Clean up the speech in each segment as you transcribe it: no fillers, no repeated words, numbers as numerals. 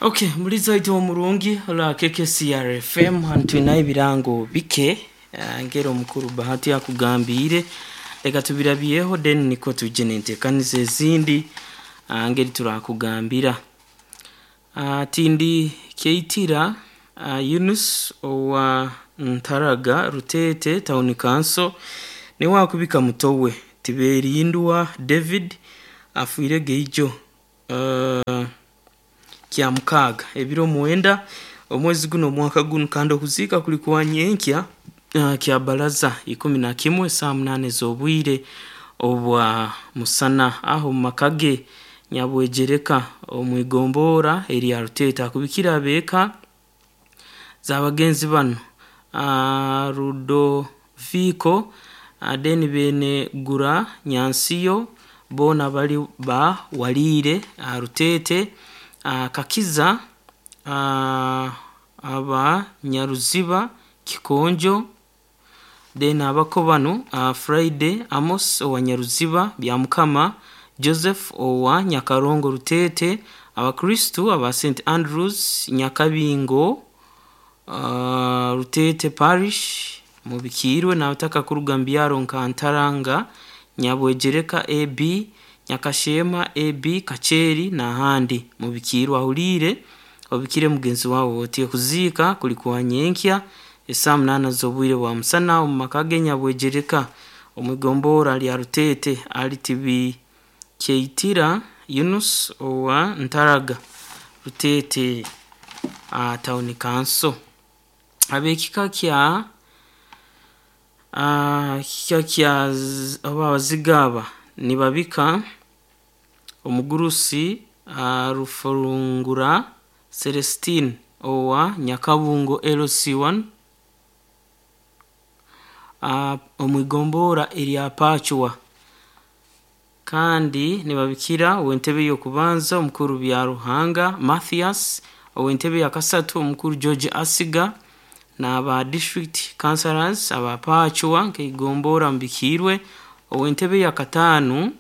Okay, muliza waitu omurungi olwa KKCR FM hanu twinayo ebirango bike ngera omukuru Bahati akugambiire leka tubirabyeho then nikwo twije n'enteekaniza ezindi ngeri turakugambira. Tindi Keitira Yunus owa Ntaraga Ruteete Town Council niwe akubika mutowe Tiberindwa David afiire geijo Kyamukaaga ebiro mwenda omwezi guno omwaka gunu kandi okuziika kuli kwa nyenkya Kyabaraza 11 saa 8 ez'obwire obwa musana aho omu maka ge Nyabwejereka omu igombora erya Ruteete akubikira abeeka z'abagenzi banu Rudoviko then Bene Gura Nyansiyo boona bali ba Waliire Ruteete Kakiza aba Nyaruziba Kikonjo then abako banu Friday Amos owa Nyaruziba Byamukama Joseph owa Nyakarongo Ruteete Abakristu aba St Andrews Nyakabingo Ruteete Parish mubikiirwe n'abataka kuruga mu byaro nka Ntaranga Nyabwejereka AB Nyakashema AB Kacheeri n'ahandi mubikiirwe ahuliire obikire mugenzi waawe oti okuziika kuli kwa nyenkya esaa 8 z'obwire bwa musana omu maka ge Nyabwejereka omu igombora lya Ruteete ali Tibikyeitira Yunus owa Ntaraga Ruteete Town Council. Ab'ekika kya oba abaziga aba nibabika omugurusi Rufurungura Celestine owa Nyakabungo LC1 omu igombora erya Pachwa kandi nibabikira ow'entebe y'okubanza omukuru Byaruhanga Mathias ow'entebe ya kasatu omukuru George Asiga n'aba district councillors aba Pachwa nk'eigombora mubikiirwe ow'entebe ya kataano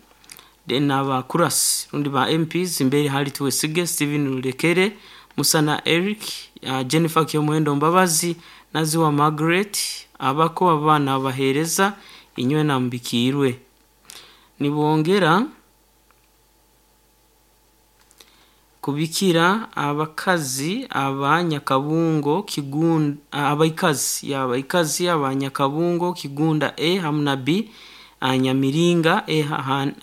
then aba Kurasi rundi ba MPs mbere hali Twesige Stephen Rulekere Musana Eric Jennifer Kyomuhendo Mbabazi Naziwa Margaret abako abaana abaheereza inywe namubikiirwe nibongera kubikira abakazi aba Nyakabungo Kigunda abaikazi abaikazi aba Nyakabungo Kigunda A hamu na B Nyamiringa A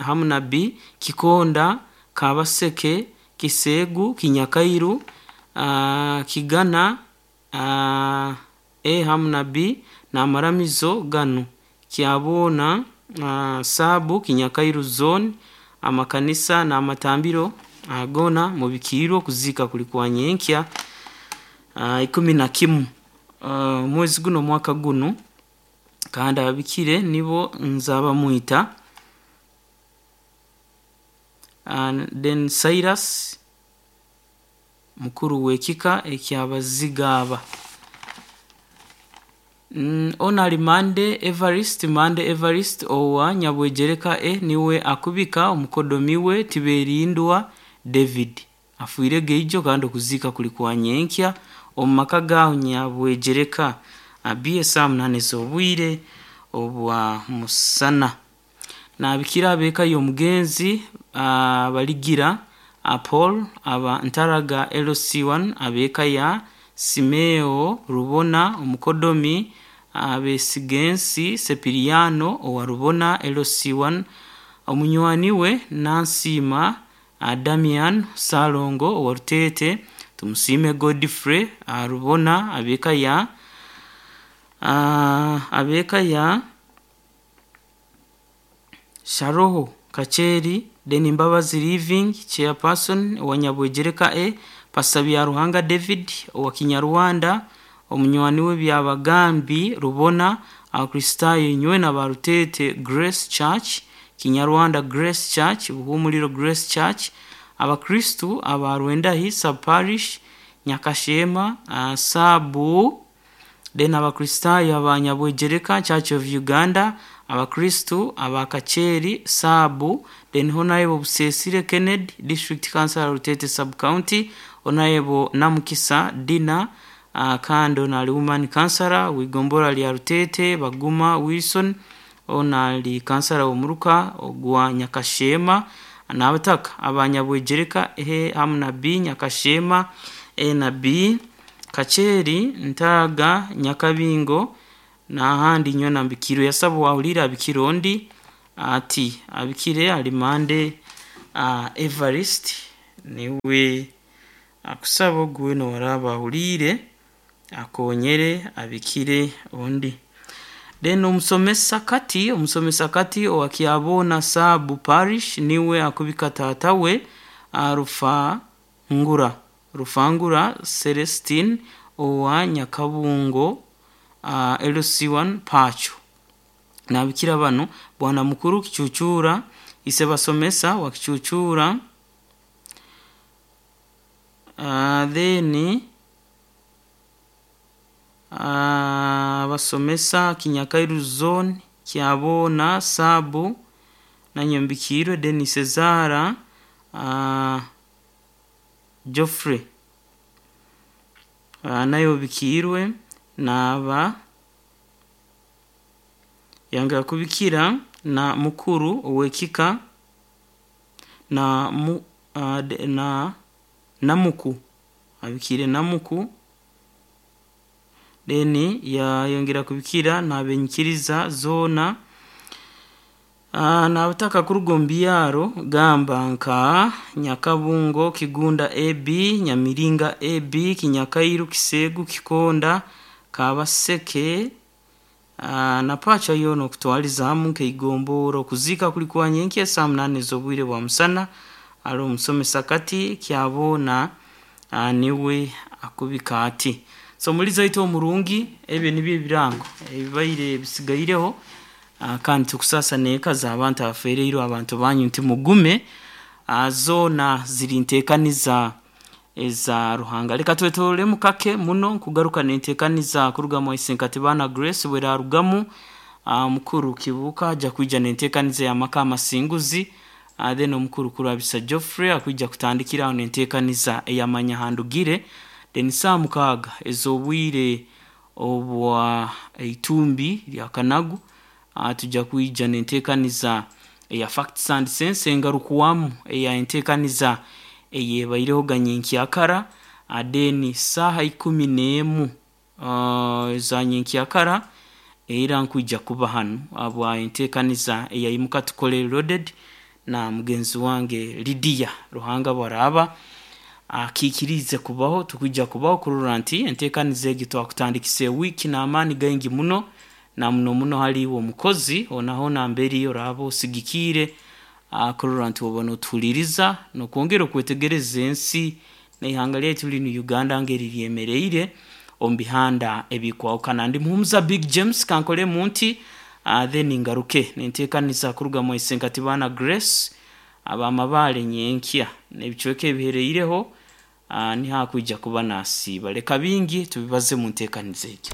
hamu na B Kikonda Kabaseke Kiseegu Kinyakairu Kigana A hamu na B n'amaramizo ganu Kyaboona Saabu Kinyakairu zone amakanisa n'amatambiro goona mubikiirwe okuziika kuli kwa nyenkya 11 omwezi guno omwaka gunu kandi ababikire nibo Nzabamwita then Cyrus mukuru w'ekika eky'abaziga aba. Onali Mande Evarist Mande Evarist owa Nyabwejereka A niwe akubika omukodomi we Tiberindwa David afiire geijo kandi okuziika kuli kwa nyenkya omu maka gaaho Nyabwejereka B esaa 8 ez'obwire obwa musana. Naabikira ab'eka y'omugenzi Baligira Paul aba Ntaraga LC1 ab'eka ya Simeo Rubona omukodomi Abesigensi Sepiriano owa Rubona LC1 omunywani we Nansiima Damian Ssalongo owa Ruteete Tumusiime Godfrey Rubona ab'eka ya Sharoho Kacheeri then Mbabazi Living chairperson owa Nyabwejereka A Pastor Byaruhanga David owa Kinyarwanda omunywani we Byabagambi Rubona Abakristaayo inywe na ba Ruteete Grace Church Kinyarwanda Grace Church Buhumuriro Grace Church Abakristu aba Rwendahi sub parish Nyakashema Saabu then Abakristaayo aba Nyabwejereka Church of Uganda Abakristu aba Kacheeri saabu, then Honourable Busesire Kennedy, District Councillor Rutete Sub County, Honourable Namukisa Dina kandi ono ali Woman Councillor w'igombolola lya Rutete, Baguma Wilson ono ali kansara w'omuruka ogwa Nyakasheema, n'abataka aba Nyabwegyereka A hamu na B, Nyakasheema A na B, Kacheeri, Ntaaga, Nyakabingo n'ahandi nyowe mbikirwe. Yasaba owahuriire abikire ondi ati abikire alimande Evarist niwe akusaba ogu weena owaraaba ahuriire akonyere abikire ondi. Then omusomesa Kati, omusomesa Kati owa Kyabona Sub Parish niwe akubika taata we Rufangura, Rufangura Celestine owa Nyakabungo LC1 Pacho. Nabikira banu Bwana Mukuru Kichuchura, Isebasomesa wa Kichuchura, then abasomesa Kinyakairu Zone, Kyabona Sub Nanyombikiirwe, then Sezara Geoffrey naye obikiirwe naaba yongera kubikira na mukuru ow'ekika na na Namuku, abikiire Namuku, then yayongera kubikira n'abenyikiriza zoona n'abataka kuruga omu byaro gamba nka Nyakabungo, Kigunda AB, Nyamiringa AB, Kinyakairu, Kiseegu, Kikonda, Kabaseke na Pacha yoona okutwaliza hamu nk'eigombora. Okuziika kuli kwa nyenkya esaaha munaana ez'obwire bwa musana ali omusomesa Kati Kyabona niwe akubika ati. So omulizi waitu omurungi, ebyo nibyo ebirango ebibaire bisigaireho kandi tukusaasa n'eka z'abantu abafereirwe abantu banyu nti mugume zoona ziri nteekaniza eza Ruhanga. Leka twetoororemu kake muno nkugaruka n'enteekaniza kuruga Mwaisenkatibana Grace bwerarugamu omukuru Kibuuka aja kwija n'enteekaniza ey'amaka amasinguzi then omukuru Kurabisa Geoffrey akwija kutandikira aho n'enteekaniza ey'amanya handugire then saaha mukaaga ez'obwire obwa eitumbi lya kanagu tujja kwija n'enteekaniza eya Facts and Sense engarukwamu eya enteekaniza eyebaireho nyenkyakara then saaha ikumi n'emu eza nyenkyakara era nkwija kuba hanu habwa enteekaniza eya Imuka Tukole Loaded na mugenzi wange Lydia. Ruhanga bwaraaba akiikiriize kubaho, tukwija kubaho kurora nti enteekaniza egi twakutandikisa ewiiki n'amaani gaingi muno na muno muno hali iwe omukozi hoona hoona mbere oraaba osigikiire kurora nti oba notuhuliiriza n'okwongera okwetegereza ensi n'eihanga lyaitu linu Uganda ngeri lyemereire omu bihanda ebikwahukana. Ndi Muhumuza Big James kankolemu nti then ngaruke n'enteekaniza kuruga Mwaisenkatibana Grace ab'amabaale nyenkya n'ebicweka ebihereireho niho akwija kuba nasiiba. Leka bingi tubibaze mu nteekaniza egyo.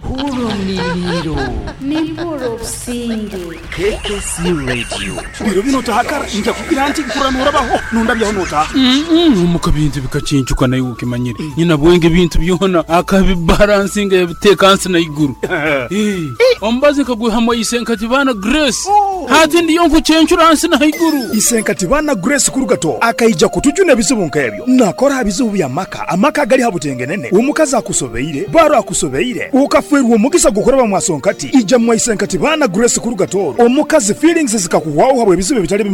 Hurra omuliiriro. Nimpurra obusinge. KKC Radio. Biro binu otahakara njakukira nti nkurra norabaho nondabyaho notaha. Omuka bintu bikacincuka naiwe okimanyire. Nyina bwenge ebintu byona akabibalansinga yabiteeka hansi na iguru. Omubazi nkagwihamu Isenkatibana Grace. Hati ndiyo nkucencura hansi na haiguru. Isenkatibana Grace Kurugato akaija kutujuna ebizibu nk'ebyo. Nakora ha bizibu bya maka, amaka agali ha butengenene. Omukazi akusobeire, baro akusobeire, ukafwerwa omugisa gukuraba mwasonkati. Ija mwa Isenkatibana Grace Kurugato. Omukazi feelings zikakuhwaho habwe ebizibu ebitali.